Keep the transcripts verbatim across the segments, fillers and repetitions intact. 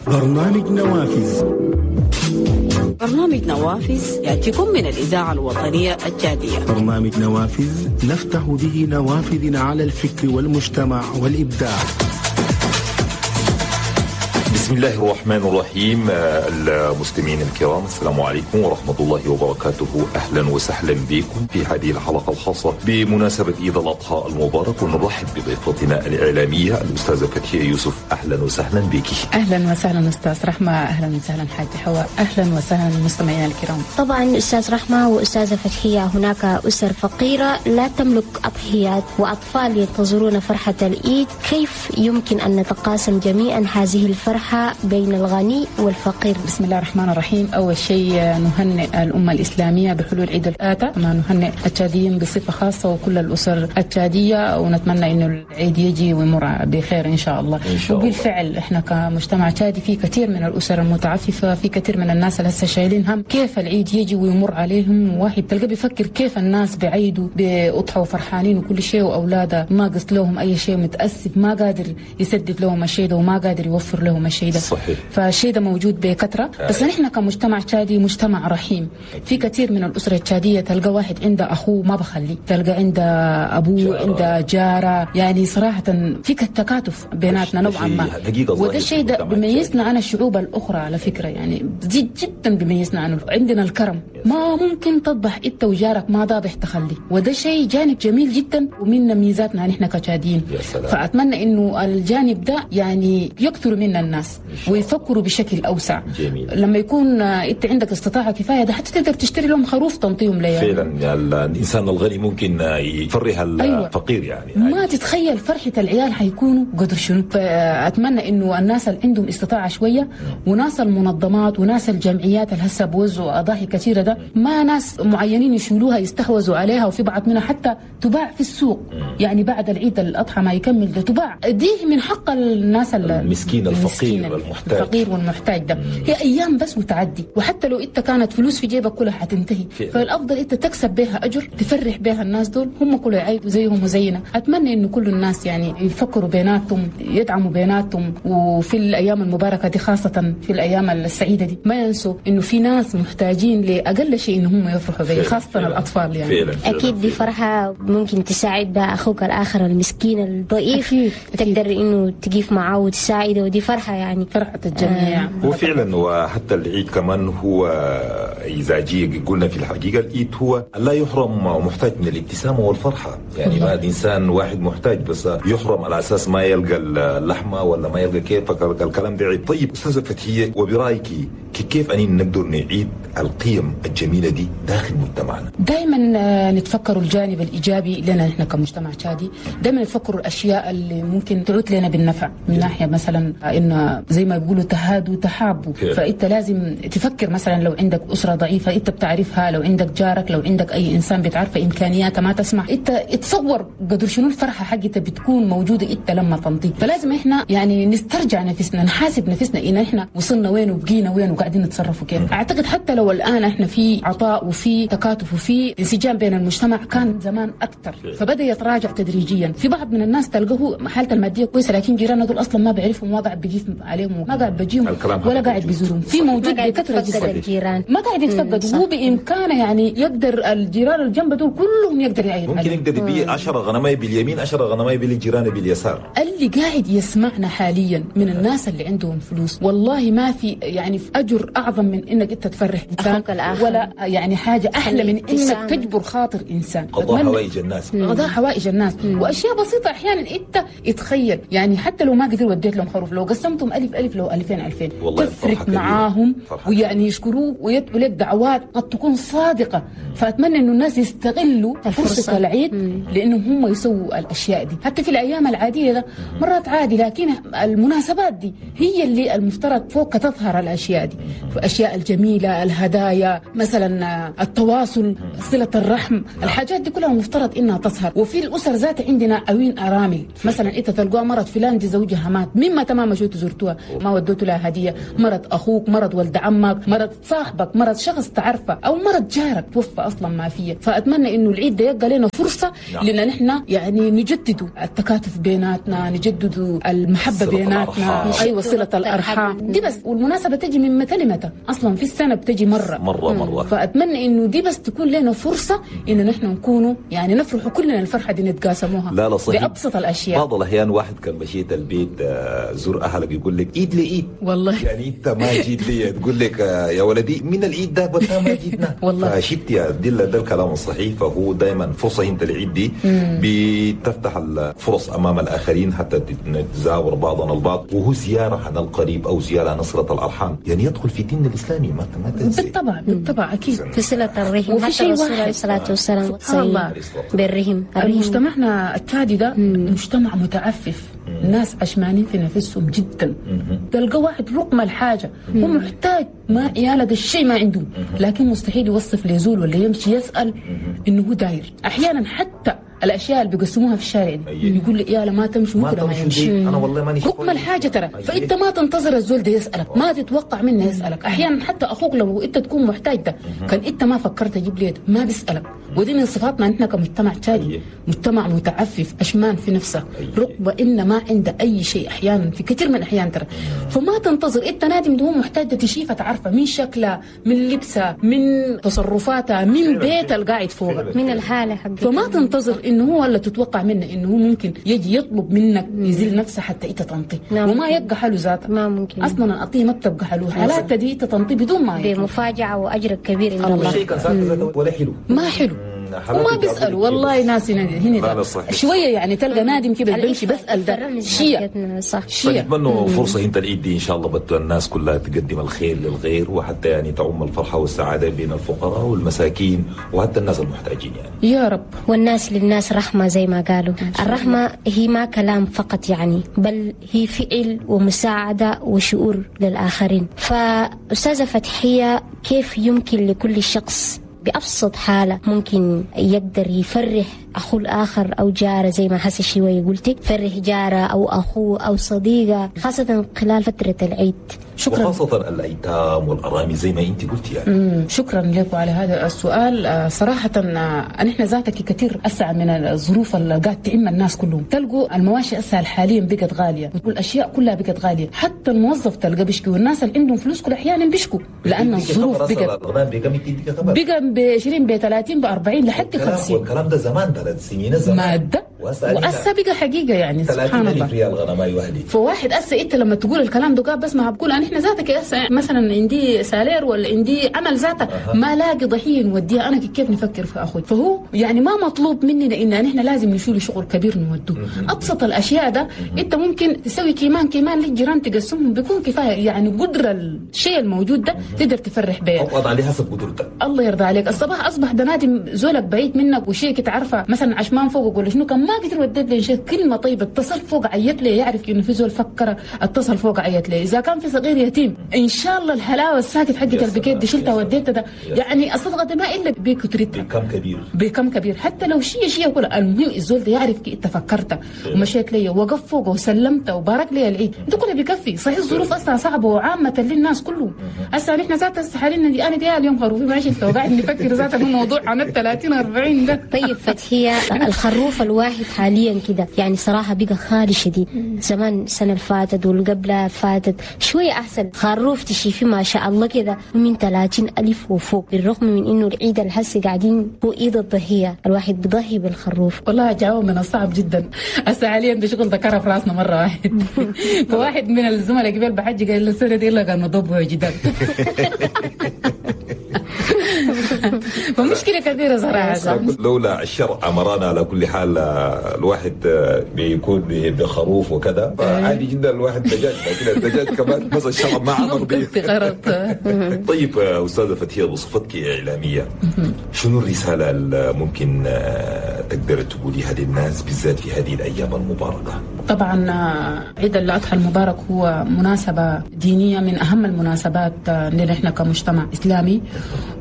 برنامج نوافذ. برنامج نوافذ يأتيكم من الإذاعة الوطنية التشادية. برنامج نوافذ نفتح به نوافذنا على الفكر والمجتمع والإبداع. بسم الله الرحمن الرحيم. المستمعين الكرام، السلام عليكم ورحمة الله وبركاته. أهلا وسهلا بكم في هذه الحلقة الخاصة بمناسبة عيد الأضحى المبارك، ونرحب بضيفتنا الإعلامية الأستاذة فتحية يوسف. أهلا وسهلا بك. أهلا وسهلا أستاذ رحمة، أهلا وسهلا حاج حواء، أهلا وسهلا المستمعين الكرام. طبعا أستاذ رحمة وأستاذة فتحية، هناك أسر فقيرة لا تملك أضحيات وأطفال ينتظرون فرحة العيد، كيف يمكن أن نتقاسم جميعا هذه الفرحة بين الغني والفقير؟ بسم الله الرحمن الرحيم. أول شيء نهنئ الأمة الإسلامية بحلول عيد الأضحى، كما نهنئ التشاديين بصفة خاصة وكل الأسر التشادية، ونتمنى إنه العيد يجي ويمر بخير إن شاء الله. إن شاء الله. وبالفعل إحنا كمجتمع تشادي في كثير من الأسر المتعففة، في كثير من الناس اللي هسه شايلين هم كيف العيد يجي ويمر عليهم. واحد تلقى بيفكر كيف الناس بعيدوا بأضحى وفرحانين وكل شيء، وأولاده ما قص لهم أي شيء، متأسف ما قادر يسدد لهم الشيء ده وما قادر يوفر لهم الشيء ده. صحيح. فالشيء ده موجود بكثرة. بس نحن كمجتمع تشادي مجتمع رحيم، في كثير من الأسرة التشادية تلقى واحد عنده أخوه ما بخليه، تلقى عنده أبوه، عنده جارة، يعني صراحة في تكاتف بيناتنا نوعا ما، وده الشيء ده بيميزنا عن الشعوب الأخرى على فكرة، يعني زيد جدا بيميزنا عنه. عندنا الكرم، ما ممكن تذبح انت وجارك ما ذابح تخلي، وده شيء جانب جميل جدا ومن ميزاتنا نحن كتشاديين. فأتمنى إنه الجانب ده يعني يكثر منا الناس ويفكروا بشكل أوسع. جميل. لما يكون انت عندك استطاعة كفاية ده حتى تقدر تشتري لهم خروف تنطيهم ليه. فعلا الإنسان الغني ممكن يفرح الفقير. أيوة. يعني ما تتخيل فرحة العيال حيكونوا قدر شنو. فأتمنى إنه الناس اللي عندهم استطاعة شوية، وناس المنظمات وناس الجمعيات اللي هسه بوزعوا أضاحي كثيرة ده، ما ناس معينين يشيلوها يستحوذوا عليها، وفي بعض منها حتى تباع في السوق. يعني بعد العيد الأضحى ما يكمل ده تباع، دي من حق الناس المسكين الفقير والمحتاج، الفقير والمحتاج ده. هي أيام بس وتعدي، وحتى لو أنت كانت فلوس في جيبك كلها حتنتهي. فالأفضل أنت تكسب بها أجر، تفرح بها الناس دول، هم كلوا يعيدوا زيهم وزينا. أتمنى إنه كل الناس يعني يفكروا بيناتهم، يدعموا بيناتهم، وفي الأيام المباركة دي خاصة في الأيام السعيدة دي ما ينسوا إنه في ناس محتاجين لأقل شيء إن هم يفرحوا به، خاصة فعلا. الأطفال يعني. فعلا. فعلا. أكيد دي فرحة ممكن تساعد بها أخوك الآخر المسكين الضعيف. أكيد. أكيد. تقدر إنه تقيف معه وتساعده، ودي فرحة يعني فرحة الجميع. آه. هو فعلا، وحتى العيد كمان هو إذا جي قلنا في الحقيقة العيد هو لا يحرم محتاج من الابتسامة والفرحة. يعني ما الإنسان واحد محتاج بس يحرم على أساس ما يلقى اللحمة ولا ما يلقى كيف، الكلام ده عيد. طيب أستاذة فتحية، وبرأيك كيف أني نقدر نعيد القيم الجميلة دي داخل مجتمعنا؟ دائما نتفكر الجانب الإيجابي لنا نحن كمجتمع تشادي، دائما نفكر الأشياء اللي ممكن تعود لنا بالنفع، من ناحية مثلا إنه زي ما بيقولوا تهادوا تحابوا. فأنت لازم تفكر مثلا لو عندك أسرة ضعيفة أنت بتعرفها، لو عندك جارك، لو عندك أي إنسان بتعرفه إمكانياته ما تسمح، أنت تصور قدر شنو الفرحة حقتها بتكون موجودة أنت لما تنطي. فلازم إحنا يعني نسترجع نفسنا، نحاسب نفسنا إن إحنا وصلنا وين وبقينا وين وقاعدين نتصرفوا كيف. أعتقد حتى لو الآن إحنا في عطاء وفي تكاتف وفي انسجام بين المجتمع، كان زمان أكثر، فبدأ يتراجع تدريجيا. في بعض من الناس تلقاه حالته المادية كويسة، لكن جيرانه دول أصلا ما بيعرفهم، ما قاعد بيجيف عليهم، ما قاعد بيجيهم ولا قاعد بيزورهم. في موجود بكثرة جدا الجيران ما قاعد يتفقد، وهو بإمكانه يعني يقدر الجيران الجنب دول كلهم يقدر يعيد ممكن عليهم. يقدر يبيع عشرة غنماية باليمين، عشرة غنماية بالجيران باليسار. اللي قاعد يسمعنا حاليا من الناس اللي عندهم فلوس، والله ما في يعني في أجر أعظم من إنك أنت تفرح إنسان، ولا يعني حاجة أحلى من إنك تجبر خاطر إنسان. قضاء حوائج الناس، قضاء حوائج الناس. مم. وأشياء بسيطة أحيانا أنت تخيل يعني حتى لو ما قدر وديت لهم خروف، لو قسمتهم ألف ألف، لو ألفين ألفين، تفرق معاهم ويعني يشكروك ويدعوا لك دعوات قد تكون صادقة. فأتمنى إنه الناس يستغلوا فرصة العيد لأنهم هم يسووا الأشياء دي. حتى في الأيام العادية ده مرات عادي، لكن المناسبات دي هي اللي المفترض فوق تظهر الأشياء دي. الأشياء الجميلة، الهدايا مثلا، التواصل، صلة الرحم، الحاجات دي كلها مفترض إنها تظهر. وفي الأسر ذات عندنا أوين أرامل مثلا، إنت تلقوها مرض فلان دي زوجها مات، مما تمام شو زرتوها ما ودوت لها هدية، مرض أخوك، مرض ولد عمك، مرض صاحبك، مرض شخص تعرفه، أو مرض جارك توفى أصلا ما فيه. فأتمنى إنه العيد ده يبقى لنا فرصة لأن نحن يعني نجدد التكاتف بيناتنا، نجدد المحبة بيناتنا، أيوة صلة الأرحام دي بس. والمناسبة تجي من متى لمتى أصلا في السنة بتجي مرة مرة مرة. فأتمنى إنه دي بس تكون لنا فرصة إنه نحن نكونوا يعني نفرح كلنا الفرحة دي نتقاسموها. لا لا صحيح. بأبسط الأشياء. بعض الأحيان واحد كان مشيت البيت زور أهلك يقول لك إيد لإيد، والله يعني أنت ما جيت لي، تقول لك يا ولدي من الإيد ده وأنت ما جيتنا. والله فشفت يا دي ده الكلام الصحيح. فهو دائما فرصة أنت العيد دي بتفتح الفرص أمام الآخرين حتى نتزاور بعضنا البعض، وهو زيارة عن القريب أو زيارة عن صلة الأرحام، يعني يدخل في ديننا الإسلامي ما ما تنسي. بالطبع بالطبع أكيد في صلة الرحم. حتى الرسول عليه الصلاة والسلام الله بالرحم. مجتمعنا التادي ده مجتمع متعفف، الناس عشمانين في نفسهم جدا. تلقى واحد رقم الحاجة هو محتاج ما عياله ده الشيء ما عنده، لكن مستحيل يوصف ليزول ولا يمشي يسأل إنه هو داير. أحيانا حتى الاشياء اللي بيقسموها في الشارع دي يقول لي يا ما تمشي وكده ما يمشي، انا والله ماني رقم الحاجة ترى. فانت ما تنتظر الزول ده يسالك، ما تتوقع منه يسالك. احيانا حتى اخوك لو انت تكون محتاج ده كان انت ما فكرت تجيب لي ما بيسالك. ودي من صفاتنا نحن كمجتمع تشادي، مجتمع متعفف اشمان في نفسه، رقبة ان ما عنده اي شيء احيانا في كثير من الاحيان ترى. فما تنتظر انت نادم ده هو محتاج تشيفه تعرفه من شكله، من لبسه، من تصرفاته، من بيته القاعد فوقه، من الحالة حقته. فما تنتظر انه هو ولا تتوقع منه انه هو ممكن يجي يطلب منك يزيل نفسه حتى انت تنطي. نعم. وما يبقى حاله ذاته، ما ممكن اصلا القطيه ما بتبقى حاله، حالاتها دي تنطي بدون ما يطلب. بمفاجاه واجر كبير ان الله. الشيء كان ذاته ولا حلو، ما حلو وما بيسألوا والله. ناس هنا هنا شوية يعني تلقى نادم كده بيمشي بسأل ده شيء صح. شيء نتمنى فرصة انت العيد دي ان شاء الله بت الناس كلها تقدم الخير للغير، وحتى يعني تعم الفرحة والسعادة بين الفقراء والمساكين وحتى الناس المحتاجين يعني يا رب. والناس للناس رحمه زي ما قالوا. الرحمة هي ما كلام فقط يعني، بل هي فعل ومساعدة وشعور للاخرين. فاستاذه فتحيه، كيف يمكن لكل شخص بأبسط حالة ممكن يقدر يفرح أخوه الآخر أو جاره، زي ما حس شوية قلتي، فرح جاره أو أخوه أو صديقه، خاصة خلال فترة العيد؟ شكرا. وخاصة الأيتام والأرامل زي ما أنت قلتي يعني. مم. شكرا لك على هذا السؤال. صراحة نحن ذاتك كثير أسعى من الظروف اللي قاعد تعم الناس كلهم. تلقوا المواشي أسهل حاليا بقت غالية، والأشياء كلها بقت غالية، حتى الموظف تلقى بيشكي، والناس اللي عندهم فلوس كل أحيانا بيشكوا لأن الظروف بقت بقى ب عشرين ب ثلاثين ب أربعين لحد خمسين. والكلام ده زمان ثلاث سنين زمان مادة وأسا بقى حقيقة يعني سبحان الله. ريال غنماي وحدي. فواحد أسا أنت لما تقول الكلام ده بس ما بقول أنا إحنا ذاتك أسا مثلا عندي سالير ولا عندي عمل ذاته أه. ما لاقي ضحية نوديها أنا كيف نفكر في أخوي. فهو يعني ما مطلوب مننا إن إحنا لازم نشيل شغل كبير نودوه. أبسط الأشياء ده أنت ممكن تسوي كيمان كيمان للجيران تقسمهم بيكون كفاية يعني قدرة الشيء الموجود ده تقدر تفرح به. أو عليه حسب قدرتك. الله يرضى عليك. الصباح أصبح ده نادم زولك بعيد منك وشيء تعرفه مثلا عشمان فوقك ولا شنو، كان ما قدر وديت لي شيء كلمة طيبة اتصل فوق عيت لي يعرف انه في زول فكر اتصل فوق عيت لي. اذا كان في صغير يتيم ان شاء الله الحلاوة الساكت حقت البكيت دي شلتها وديتها ده يعني الصدقة ده ما الا بكترتها بكم كبير بكم كبير حتى لو شيء شيء كله. المهم الزول ده يعرف كي انت فكرت ومشيت لي وقف فوقه وسلمت وبارك لي العيد ده كله بيكفي. صحيح الظروف اصلا صعبة وعامة للناس كلهم. هسه نحن ذات حاليا دي انا دي اليوم خروفي ما شلته وقاعد نفكر ذات الموضوع عن ثلاثين أربعين ده. طيب فتحية، الخروف الواحد حاليا كده يعني صراحة بقى خالي شديد. زمان السنة اللي فاتت والقبلها فاتت شوية أحسن، خروف تشيفي ما شاء الله كده من ثلاثين ألف وفوق، بالرغم من إنه العيد الحسي قاعدين هو عيد الضحية، الواحد بيضحي بالخروف. والله جواب من الصعب جدا هسه حاليا ده شغل ذكره في راسنا مرة واحد. فواحد من الزملاء قبل بحج قال له السنة دي إلا كان نضبه جدا. فمشكلة كبيرة صراحة. لولا الشرع أمرنا على كل حال الواحد بيكون بخروف وكذا فعادي جدا الواحد دجاج، لكن الدجاج كمان بس الشرع ما أمر به. طيب أستاذة فتحية، بصفتك إعلامية شنو الرسالة اللي ممكن تقدر تقوليها للناس بالذات في هذه الأيام المباركة؟ طبعا عيد الأضحى المبارك هو مناسبة دينية من أهم المناسبات لنا احنا كمجتمع إسلامي،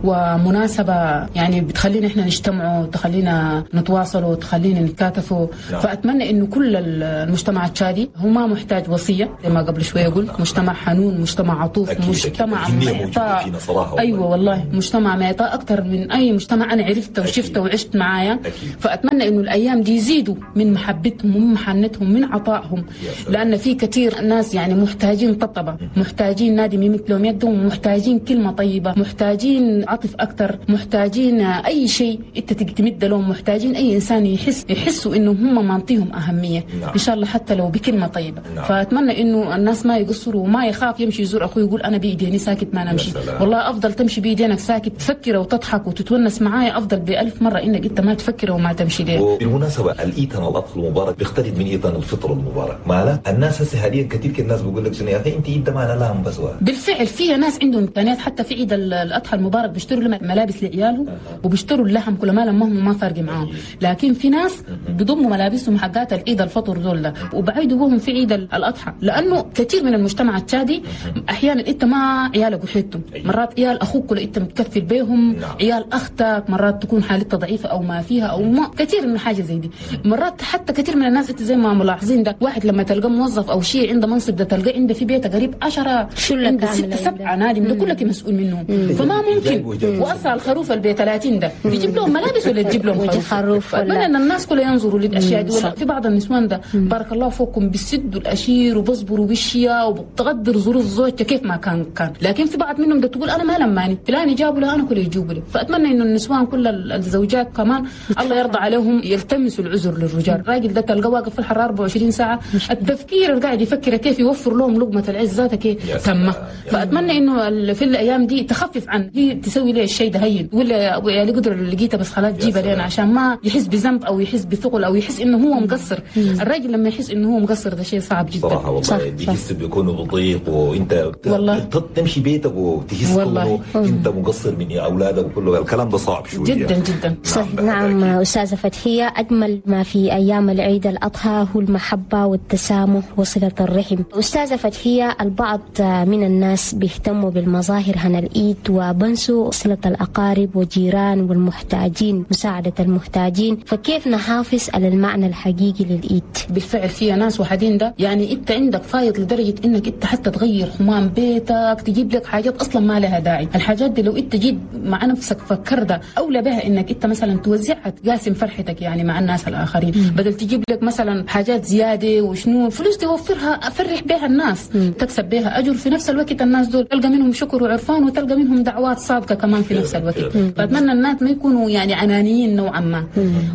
ومناسبة يعني بتخلينا احنا نجتمعوا، تخلينا نتواصلوا، تخلينا نتكاتفوا. نعم. فأتمنى إنه كل المجتمع التشادي هو ما محتاج وصية زي ما قبل شوية قلت، مجتمع حنون، مجتمع عطوف، أكيد مجتمع أكيد. معطاء. صراحة أيوة والله مجتمع معطاء أكثر من أي مجتمع أنا عرفته وشفته وعشت معايا. فأتمنى إنه الأيام دي يزيدوا من محبتهم ومن محنتهم من عطائهم، لأن في كثير ناس يعني محتاجين طبطبة، محتاجين نادم يمد لهم يدهم، محتاجين كلمة طيبة، محتاجين عطف أكثر، محتاجين أي شيء أنت تمد لهم، محتاجين أي إنسان يحس يحسوا إنه هم معطيهم أهمية. نعم. إن شاء الله حتى لو بكلمة طيبة. نعم. فأتمنى إنه الناس ما يقصروا وما يخاف يمشي يزور أخوه يقول أنا بإيديني ساكت ما نمشي. والله أفضل تمشي بإيدينك ساكت تفكر وتضحك وتتونس معايا أفضل بألف مرة إنك أنت ما تفكر وما تمشي ليه. وبالمناسبة الإيتان الأضحى المبارك بيختلف من إيتان الفطر المبارك، ما الناس هسه حاليا كثير الناس بيقول لك شنو يا أخي أنت إيد ما أنا لهم بس. بالفعل في ناس عندهم إمكانيات حتى في عيد الأضحى المبارك بيشتروا ملابس لعيالهم وبيشتروا اللحم كل ما لمهم ما فارق معاهم، لكن في ناس بيضموا ملابسهم حقات العيد الفطر دول وبعيدوا بهم في عيد الأضحى، لأنه كثير من المجتمع التشادي أحيانا أنت ما عيالك وحدتهم، مرات عيال أخوك ولا أنت متكفل بيهم، عيال أختك مرات تكون حالتها ضعيفة أو ما فيها أو ما كثير من حاجة زي دي. مرات حتى كثير من الناس أنت زي ما ملاحظين ده واحد لما تلقى موظف أو شيء عنده منصب ده تلقى عنده في بيته قريب عشرة عنده ستة سبعة نادم ده كلك مسؤول منهم، فما ممكن وأصل الخروف البيت ثلاثين ده تجيب لهم ملابس ولا تجيب لهم خروف. أتمنى أن الناس كلها ينظروا للأشياء دي. في بعض النسوان ده بارك الله فوقكم بيسدوا الأشير وبصبروا بالشيا وبتقدر ظروف زوجته كيف ما كان كان، لكن في بعض منهم ده تقول أنا ما لماني فلان جابوا له أنا كل يجيبوا لي. فأتمنى إنه النسوان كل الزوجات كمان الله يرضى عليهم يلتمسوا العذر للرجال. الراجل ده تلقاه واقف في الحرارة أربعة وعشرين ساعة، التفكير اللي قاعد يفكر كيف يوفر لهم لقمة العز ذاتها كيف تمه. فأتمنى إنه في الأيام دي تخفف عن هي تسوي لي الشيء ده هين ولا يا لي قدر اللي لقيته بس خلاص جيبه لنا، عشان ما يحس بذنب أو يحس بثقل أو يحس إنه هو مقصر. الراجل لما يحس إنه هو مقصر ده شيء صعب جدا صراحة والله، بيحس بيكون بضيق وأنت والله تمشي بيتك وتحس إنه أنت مقصر من أولادك وكله الكلام ده صعب شوية جدا جدا. صح. نعم أستاذة فتحية، أجمل ما في أيام العيد الأضحى هو المحبة والتسامح وصلة الرحم. أستاذة فتحية، البعض من الناس بيهتموا بالمظاهر هنا العيد وبنسوا صلة الأقارب والجيران والمحتاجين، مساعدة المحتاجين، فكيف نحافظ على المعنى الحقيقي للعيد؟ بالفعل في ناس وحدين ده يعني أنت عندك فايض لدرجة إنك أنت حتى تغير حمام بيتك، تجيب لك حاجات أصلا ما لها داعي. الحاجات دي لو أنت جيت مع نفسك فكر ده أولى بها إنك أنت مثلا توزعها تقاسم فرحتك يعني مع الناس الآخرين، مم. بدل تجيب لك مثلا حاجات زيادة وشنو فلوس توفرها أفرح بها الناس، مم. تكسب بها أجر في نفس الوقت الناس دول تلقى منهم شكر وعرفان وتلقى منهم دعوات صادقة كمان في نفس الوقت. فأتمنى الناس ما يكونوا يعني عنانيين نوعا ما،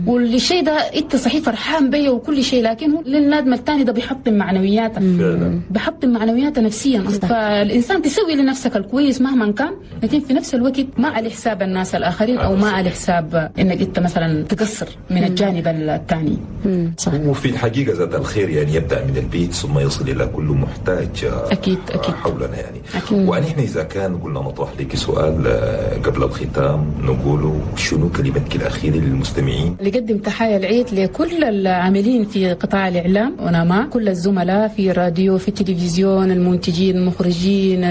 والشيء ده أنت صحيح فرحان بيه وكل شيء، لكن هو للنادم الثاني ده بيحطم معنوياته، بيحطم معنوياته نفسيا. فالإنسان تسوي لنفسك الكويس مهما كان، لكن في نفس الوقت ما على حساب الناس الآخرين أو ما على حساب إنك أنت مثلا تقصر من الجانب الثاني. وفي الحقيقة ذات الخير يعني يبدأ من البيت ثم يصل إلى كل محتاج أكيد أكيد حولنا يعني. أكيد. ونحن إذا كان قلنا نطرح لك سؤال قبل الختام نقوله شنو كلمتك الأخيرة للمستمعين؟ لقدم تحايا العيد لكل العاملين في قطاع الإعلام ونما كل الزملاء في الراديو في التلفزيون، المنتجين المخرجين،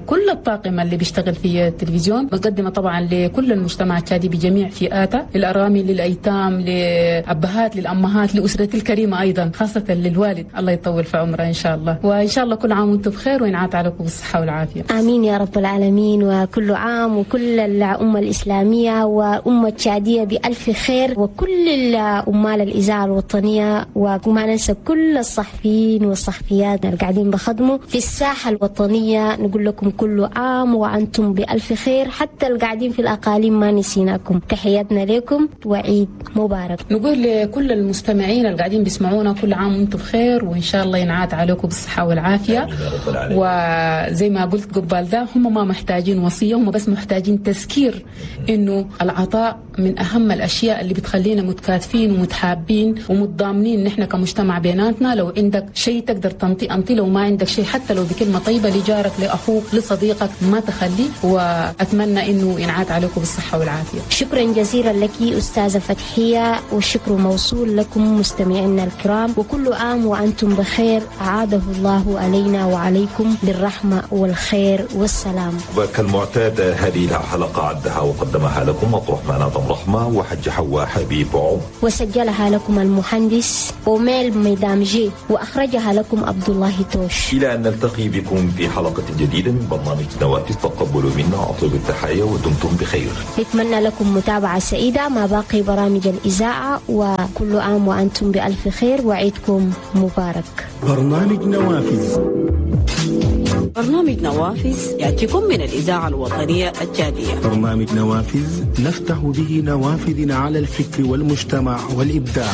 كل الطاقم اللي بيشتغل في التلفزيون. مقدمة طبعا لكل المجتمع التشادي بجميع فئاته، للأرامل، للأيتام، لأبهات، للأمهات، لأسرتي الكريمة أيضا، خاصة للوالد الله يطول في عمره إن شاء الله. وإن شاء الله كل عام وأنتم بخير وينعاد عليكم بالصحة والعافية. آمين يا رب العالمين. وكل عام وكل الأمة الإسلامية وأمة التشادية بألف خير، وكل الأمال الإذاعة الوطنية، وما ننسى كل الصحفيين والصحفيات اللي قاعدين بخدموا في الساحة الوطنية. نقول لكم كل عام وأنتم بألف خير، حتى اللي قاعدين في الأقاليم ما نسيناكم. تحياتنا لكم وعيد مبارك. نقول لكل المستمعين اللي قاعدين بيسمعونا كل عام وأنتم بخير، وإن شاء الله ينعاد عليكم بالصحة والعافية. وزي ما قلت قبال ده، هم ما محتاجين وصية، هم بس محتاجين تذكير إنه العطاء من أهم الأشياء اللي بتخلينا متكاتفين ومتحابين ومتضامنين نحن كمجتمع بيناتنا. لو عندك شيء تقدر تنطي أنطي، لو ما عندك شيء حتى لو بكلمة طيبة لجارك لأخوك لصديقك ما تخليه. وأتمنى إنه ينعاد عليكم بالصحة والعافية. شكرا جزيلا لك أستاذة فتحية، والشكر موصول لكم مستمعينا الكرام. وكل عام وأنتم بخير، أعاده الله علينا وعليكم بالرحمة والخير والسلام. وكالمعتاد هذه الحلقة عدها وقدمها لكم عبد الرحمن آدم رحمة وحج حواء حبيب عمر، وسجلها لكم المهندس أوميل ميدامجي، وأخرجها لكم عبد الله توش. إلى أن نلتقي بكم في حلقة جديدة من برنامج نوافذ، تقبلوا منا أطيب التحية ودمتم بخير. نتمنى لكم متابعة سعيدة مع باقي برامج الإذاعة، وكل عام وأنتم بألف خير وعيدكم مبارك. برنامج نوافذ. برنامج نوافذ يأتيكم من الإذاعة الوطنية التشادية. برنامج نوافذ نفتح به نوافذنا على الفكر والمجتمع والإبداع.